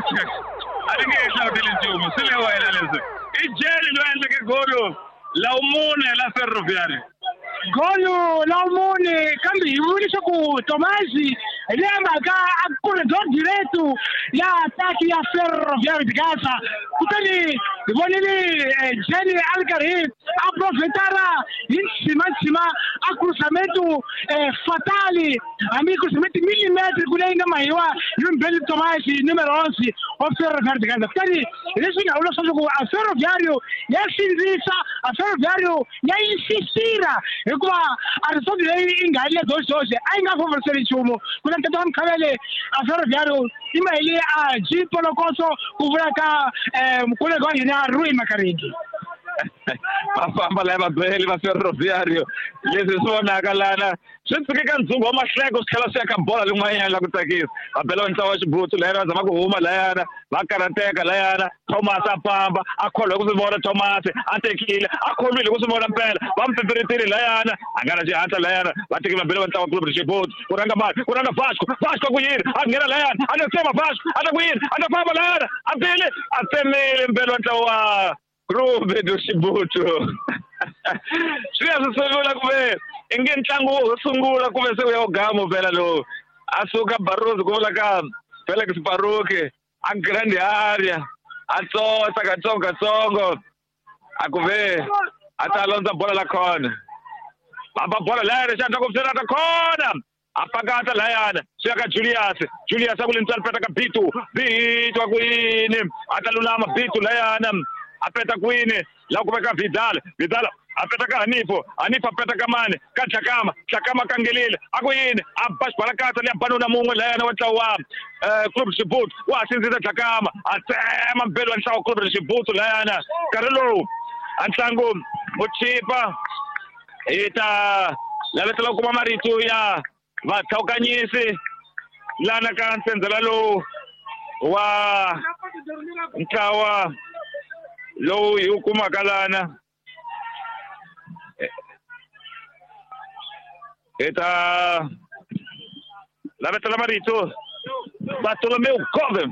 A ni nge he hlavuteli nchumu, swi le wena leswi. I Jele loyi a endleke golo la vumune la Ferroviário. Golo la vumune, kambe hi vule leswaku Tomasi hi leyi mhaka a corredor direto ya ataki ya Ferroviário de Gaza. Kutani hi vonile Jele a ri karhi a profetara hi ntshimantsima a cruzamento fatali, hambi cruzamento millimetre ku leyi nga mahiwa hi Mbeli Tomasi numero 11 wa Ferroviário de Gaza. Kutani hi leswi nga vula leswaku a Ferroviário ya sindzisa, a Ferroviário ya insistira, hikuva a result leyi yi nga le doxoxe a yi nga favoriseli nchumu. Ku na tata wa Mkhavele, a Ferroviário i mahile a G Polokoso, ku vula ka mukoleki wa hina Rui Makaringi. Va famba laya vabeli va Ferroviário, leswi swi vonaka lana swi tshike ka ndzungu wa mahleko, swi tlhela swi ya ka bola lin'wanyana la ku tsakisa. Va bela va ntlawa wa Xibutsu layana, va zama ku huma layana, va karhateka layana. Thomas a famba a kholwa ku swi vona, Thomas a tekile a kholwile ku swi vona mpela, va n'wi pipiritile layana, a nga na xihatla layana. Va tekile va bela va ntlawa wa Clube Xibutsu, ku rhanga mali, ku rhanga Vasco, Vasco ku yini, a nghena layana, a ta tsema Vasco, a ta ku yini, a ta famba layana, a bile a tsemile mpela wa ntlawa wa Clube do Xibutsu. Swi ya swi sungula ku ve i nge ntlangu wo sungula ku ve se u ya u gamo phela lowu. A suka Barroso ku vula ka Felix Baruki a grand area, a tsotsa katsongo katsongo, a ku ve a ta londza bola la khona. Va ba bola layana, xandla ku pfuna ta khona. A pakata layana, swi ya ka Julius. Julius a ku lentswari peta ka Bitu. Bitu a ku yini? A ta lulama Bitu layana. A peta kwini? La ku veka Vidal. Vidal a peta ka Hanifo. Hanifo a peta ka mani? Ka Tlakama. Tlakama kangelile. A ku yini? A ba xibalakatsa liya banuna mun'we layana wa ntlawa wa Clube Xibutsu. Wa ha sindzisa Tlakama. A tsema mbelo wa ntlawa wa Clube Xibutsu layana. Nkarhi lowu a ntlangu wu chipa, hi ta lavetela ku kuma marito ya vatlhawukanyisi lana ka ntsendzela lowu wa ntlawa lowu hi wu kumaka lana. Hi ta lavetela marito Bartolomeu Gove.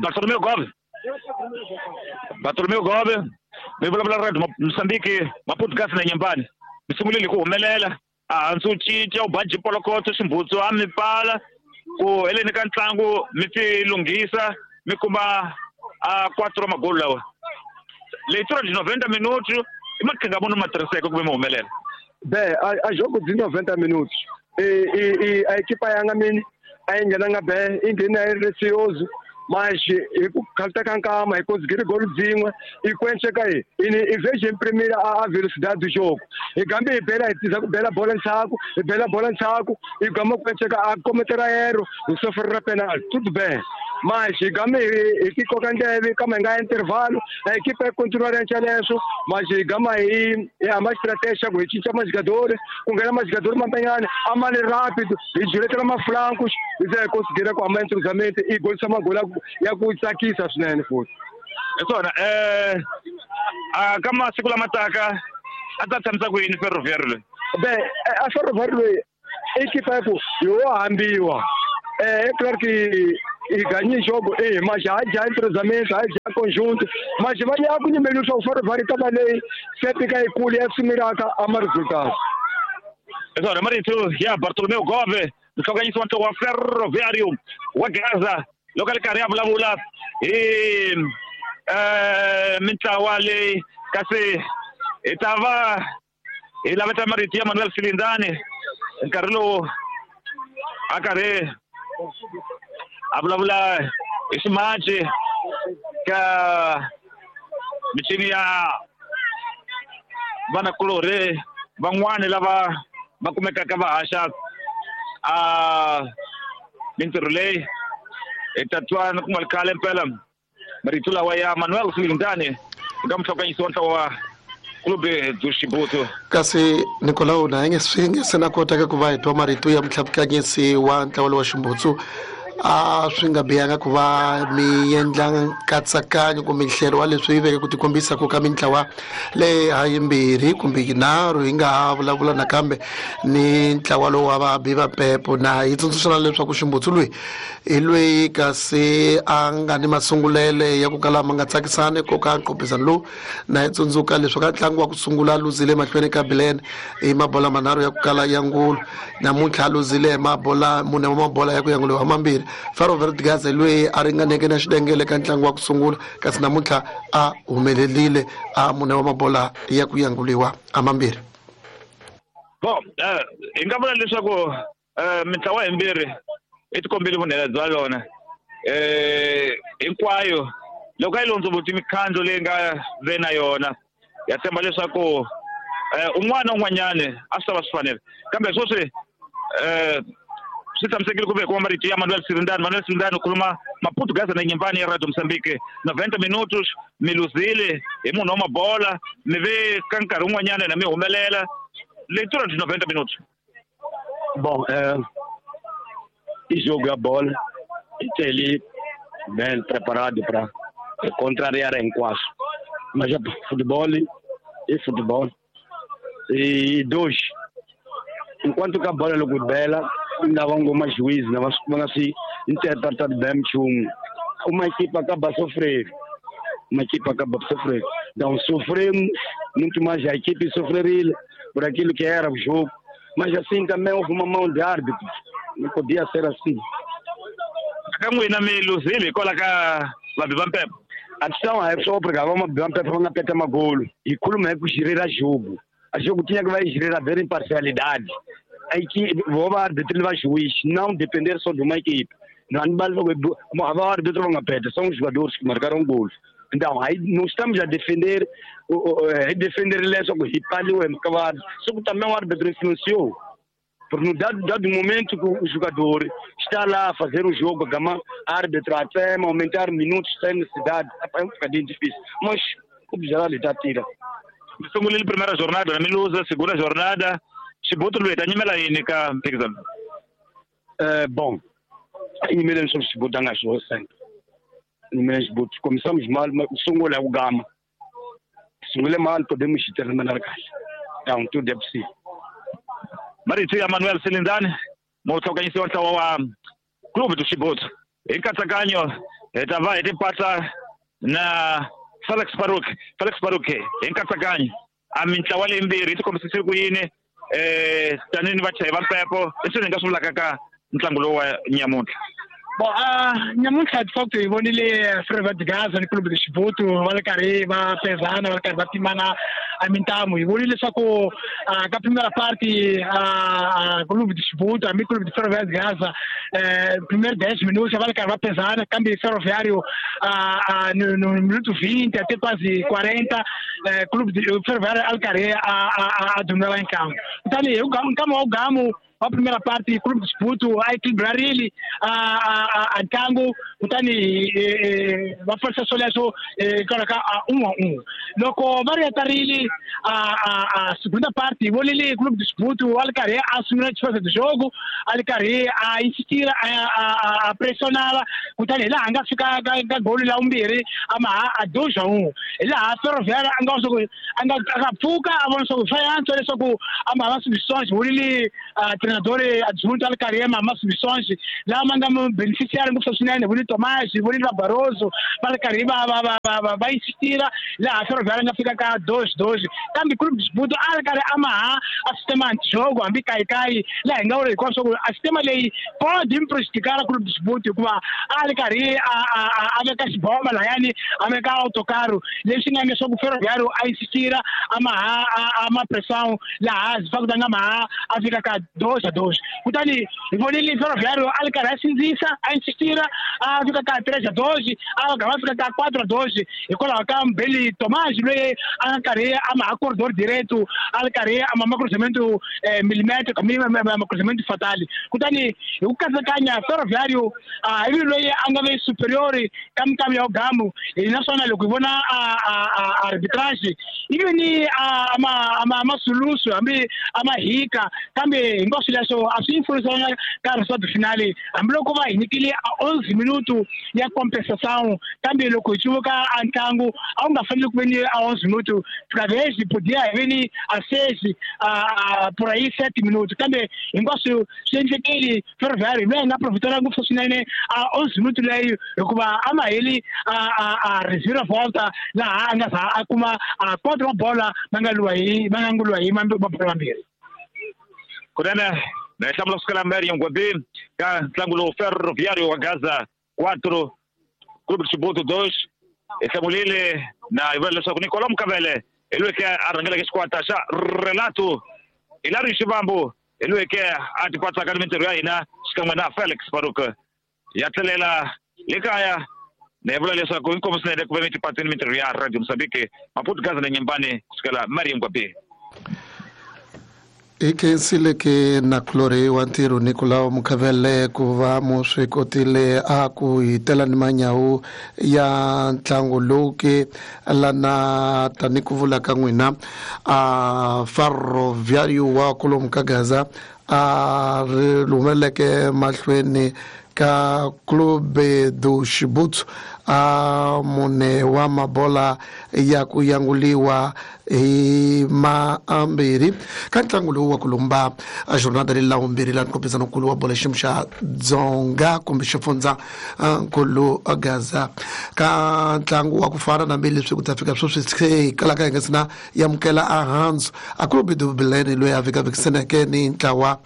Bartolomeu Gove. Bartolomeu Gove, mi vulavula Radio Mozambique, Maputo Gas na Nyembani. Mi sungulile ku humelela, a hansi u cinca, u ba jipolokotso, ximbutsu a mi pfala, ku heleni ka ntlangu mi ti lunghisa, mi kuma a 4 magolo lawa. Leitura de 90 minutos, i maqhinga muni ma tirhiseke ku ve mi humelela? Be, a jogo de 90 minutos. A equipa ya nga mini, a yi nghenanga be, yi nghene yi ri receoso, mas hi ku khalta ka nkama, hi conseguir golo dzin'we, hi kwenceka hi, i vez de imprimir a velocidade do jogo. Hi gambe hi bela, hi tiza ku bela bola ndzhaku, hi bela bola ndzhaku, hi gama kwenceka a cometer erro, hi sofrer penalti, tudo bem. Mas hi gambe hi ti koka ndleve, kama hi nga intervalo, a equipa yi continua ri leswo, mas hi gama hi hamba estratégia ku hi cinca majogadores, ku nghena majogadores mambanyana, a ma le rápido, hi juletela maflancos, hi ze hi conseguir ku hamba entrosamento, hi golisa magolo ya ku tsakisa swinene futhi. Hi swona, a ka masiku lama taka a ta tshamisa ku yini Ferroviário loyi? Be, a Ferroviário loyi i equipa ya ku hi wo hambiwa. É claro que hi ganhei jogo, mas já já entrosamento, já já conjunto, mas vai lá com o número só Ferroviário tava leyi sempre que kuli ya sumiraka a ma resultado. Hi swona, marito ya Bartolomeu Gove, muhlonganyisi wa ntlawa wa Ferroviário wa Gaza, loko a ri karhi a vulavula hi mintlawa leyi, kasi hi ta va hi laveta marito ya Manuel Silindani nkarhi lowu a karhi a vulavula hi ximaci ka michini ya vanakulorhi van'wani lava va kumekaka va haxa a mintirho leyi. Hi ta twa ku nga ri khale mpela marito lawa ya Manuel Silindani eka muhlonganyisi wa ntlawa wa Clube do Xibutsu. Kasi Nicolau na nge swi nge se na kotaka ku va hi twa marito ya mutlhavukanyisi wa ntlawa lowa Ximbutsu. A swi nga bihanga ku va mi endla nkatsakanyo kumbe nhlelo wa leswi veke ku tikombisa ku ka mintlawa leyi ha yimbirhi kumbe yinharhu hi nga ha vulavula nakambe ni ntlawa lowu wa vabi va mpepo na hi tsundzuxana leswaku ximbutsu loyi hi loyi kasi a nga ni masungulele ya ku kala ma nga tsakisani ko ka nqophisano lowu na hi tsundzuka leswi ka ntlangu wa ku sungula luzile mahlweni ka Bilen hi mabola manharhu ya ku kala ya ngulu namuntlha a luzile hi mabola mune wa mabola ya ku yanguliwa mambirhi Faro Verdigaze loyi a ringaneke na xidengele ka ntlangu wa ku sungula kasi namuntlha a humelerile a mune wa mabola ya ku yanguliwa a mambirhi. Bon, hi nga vula leswaku mintlawa yimbirhi i tikombile vunhela bya yona hinkwayo loko a yi londzovoti mikhandlo leyi nga ve na yona ya tshemba leswaku un'wana na un'wanyani a swi ta va swi fanele kambe sweswi swi tshamisekile ku ve kuma marito ya Manuel Sirindani. Manuel Sirindani u khuluma Maputugaza na Nyimpfani ya Radio Mozambique 90 minutos mi luzile hi munhu wa mabola mi ve ka nkarhi wun'wanyana na mi humelela leitura de 90 minutos. Bom, e jogo a bola e bem preparado para contrariar hinkwaswo. Mas é futebol e futebol. E dois, enquanto que a bola logo bela, ainda vão algumas juízes, não vão assim interpretar bem uma equipa acaba a sofrer. Uma equipa acaba a sofrer. Então sofremos muito mais a equipe sofreria por aquilo que era o jogo. Mas assim também houve uma mão de árbitro. Não podia ser assim. A questão é só porque vamos apertar uma golo. E como é que gerir a jogo? A jogo tinha que vai gerir a ver imparcialidade. A equipe, o árbitro vai juiz, não depender só de uma equipe. Não o árbitro vai apertar, são os jogadores que marcaram gols. Então, aí não estamos a defender, só que só que também o árbitro influenciou. Porque no dado momento que o jogador está lá a fazer o jogo, a árbitro até aumentar minutos sem necessidade, é um bocadinho difícil. Mas o geral está tira. Sungulile primeira jornada, na Miluza, segunda jornada, Chibuto Lueta, nyimela yini ka mphikizano? Bom, nyimela sobre Chibuto angasho sempre. Nyimela Chibuto, começamos mal, mas sungula o gama. Sungule mal, podemos terminar kahle. Então, tudo é possível. Marito ya Manuel Silindani, mutlhokanyisi wa ntlawa wa Clube do Chibuto. Hi nkatsakanyo hi ta va hi tipatsa na Felix Baruk. Felix Baruk hi nkatsakanyo a mintlawa leyimbirhi yi tikombisise ku yini tanihi vachayi va mpepo leswi hi nga swi vulaka ka ntlangu lowu wa nyamuntlha. Bom, nyamuntlha de facto hi vonile Ferroviário de Gaza ni Clube do Chibuto va ri karhi va pezana va ri karhi va pimana a mintamu. Hi vonile leswaku ka primeira parte a Clube do Chibuto hambi Clube de Ferroviário de Gaza primeiro 10 minutos va ri karhi va pezana kambe Ferroviário no minuto 20 até quase 40 Clube de Ferroviário a ri karhi a dominar em campo. Kutani hi nkama wa gamu a primeira parte Clube do Chibuto a equilibrar ele a ntlangu kutani va forsa swoleswo hikwalaho ka 1-1 loko va ri hetarile a segunda parte vonile Clube do Chibuto a ri karhi a sungula xifaniso de jogo a ri karhi a insistira a pressionava kutani hi laha a nga fika ka goli la vumbirhi a maha a 2-1 hi laha Ferroviário a nga swa a nga pfuka a vona swa ku swa yantswa leswaku a maha substituições vonile treinador adjunto al Karema ma substituições lá manda beneficiário ngopfu swinene voni Tomás voni Barroso va karhi va insistir laha Ferroviário nga fika ka 2-2 kambe Clube do Chibuto a ri karhi a maha a sistema antijogo hambi kayikayi laha hi nga vula hinkwaswo ku a sistema leyi pode prejudicar Clube do Chibuto hikuva a ri karhi a veka xibomba lahayani a veka autocaro leswi nga endla leswaku Ferroviário a insistira a maha a ma pressão laha de facto nga maha a fika ka 2-2 kutani hi vonile Ferroviário a ri karhi a sindzisa a insistira a fika ka 3-2 a va fika ka 4-2 hikwalaho ka Mbeli Tomás loyi a nga karhi a maha corredor direto a ri karhi a ma cruzamento milimétrico ma cruzamento fatal kutani hi ku katsakanya Ferroviário hi loyi a nga ve superior ka minkarhi ya gamu naswona loko hi vona arbitrage ivi ni a ma sulusu hambi a ma hika kambe Kambe hinkwaswo leswo a swi influenisanga ka resultado final, hambiloko va hi nyikile 11 minuto ya compensação. Kambe loko hi cuvuka a ntlangu a wu nga fanele ku ve ni a 11 minuto, talvez podia hi ve ni a 6 a por aí 7 minutos. Kambe hinkwaswo swi endlekile, Ferroviário loyi a nga profitela ngopfu swinene a 11 minuto leyi, hikuva a ma heli a reviravolta laha a nga za a kuma a quatro mabola ma nga lwiwa hi ma nga nguliwa hi mabola mambirhi. Kunene na hi hlamula kusukela Mariam Gwabi ka ntlangu lowu Ferroviário wa Gaza 4 Clube de Chibuto 2. Hi hlamulile na hi vula leswaku Nicolau Mukavele hi loyi ke a rhangeleke xikwata xa Relato, Hilario Xivambu hi loyi ke a tipatsaka ni mintirho ya hina xikan'we na Felix Faruk. Ya tlhelela le kaya na hi vula leswaku inkomu swinene ku ve mi tipatsini mintirho ya Radio Mozambique, Maputo, Gaza na Nyembani kusukela Mariam Gwabi. Hi khensile ke nakulorhi wa ntirho Nicolau Mukhavele ku va mu swi kotile a ku hi tela ni manyawu ya ntlangu lowu ke lana tani ku vula ka n'wina a Ferroviário wa kwalomu ka Gaza a ri humeleleke mahlweni ka Clube do Chibuto a mune wa mabola ya ku yanguliwa hi mambirhi ka ntlangu lowu wa ku lumba a jornada leyi lawumbirhi la nkompizano nkulu wa bola xiyimo xa Dzonga kumbe xifundza nkulu Gaza ka ntlangu wa ku fana na leswi ku ta fika sweswi se hi kalaka hi nga sina yamukela a handzu a Clube do Belene loyi a vikavikisaneke ni ntlawa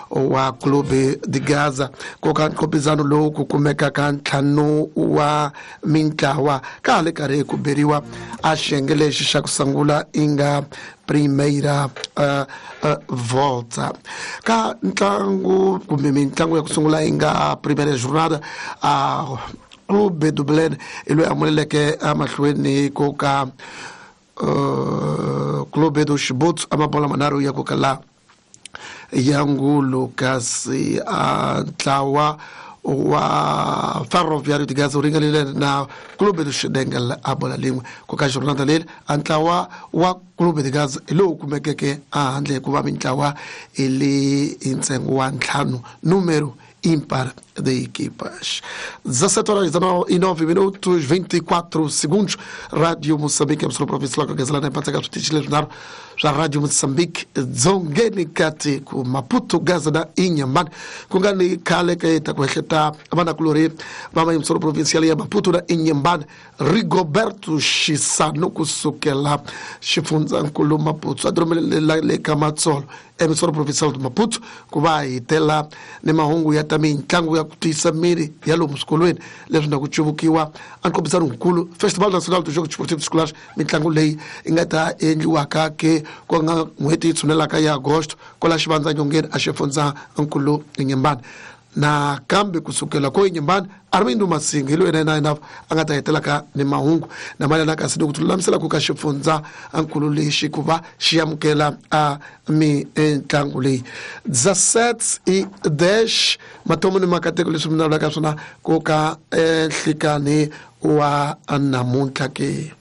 wa Clube de Gaza ko ka nkompizano lowu ku kumeka ka ntlhanu wa mintlawa ka ha le karhi ku beriwa a xiyenge lexi xa ku sungula i nga primeira volta ka ntlangu kumbe mitlangu ya ku sungula yi nga primeira jornada. A Clube do Belene i loyi a muleleke emahlweni ko ka Clube do Chibuto a mabola manharhu ya ku kala ya ngulu, kasi a ntlawa wa Ferroviário de Gaza wu ringanile na Clube do Xidengel a bola lin'we. Ku ka jornada leri a ntlawa wa Clube de Gaza hi lowu kumekeke ehandle hikuva mintlawa i le hi ntsengo wa ntlhanu, número ímpar de equipas. 17 horas e 9 minutos 24 segundos. Rádio Moçambique, emissora provincial com Gazela, na switichi leswinharhu swa Radio Moçambique dzongeni ka tiko, Maputo, Gaza na Inhambane. Ku nga ni khale ka ta ku ehleta vanakulorhi va mayimisolo provincial ya Maputo na Inhambane, Rigoberto Xisano kusukela xifundzankulu Maputo a diromelela le ka Matsolo emissora provincial de Maputo ku va hi tela ni mahungu ya ta mitlangu ya ku tiyisa miri ya lomu swikolweni leswi na ku cuvukiwa a nkombisano nkulu Festival Nacional do Jogo Desportivo Escolares, mitlangu leyi yi nga ta endliwaka ke ku nga n'hweti yi tshunelaka ya agosto kwala xivandza nyongeni a xifundza nkulu Inhambane. Nakambe kusukela ko Inhambane, Armindo Masinga hi loyi na yena a nga ta hetelaka ni mahungu na mayelana kasi ni ku tilulamisela ku ka xifundza nkulu lexi ku va xi amukela a mitlangu leyi. 17 e 10 matomo ni makateko leswi mi navelaka swona ku ka nhlikani wa namuntlha ke.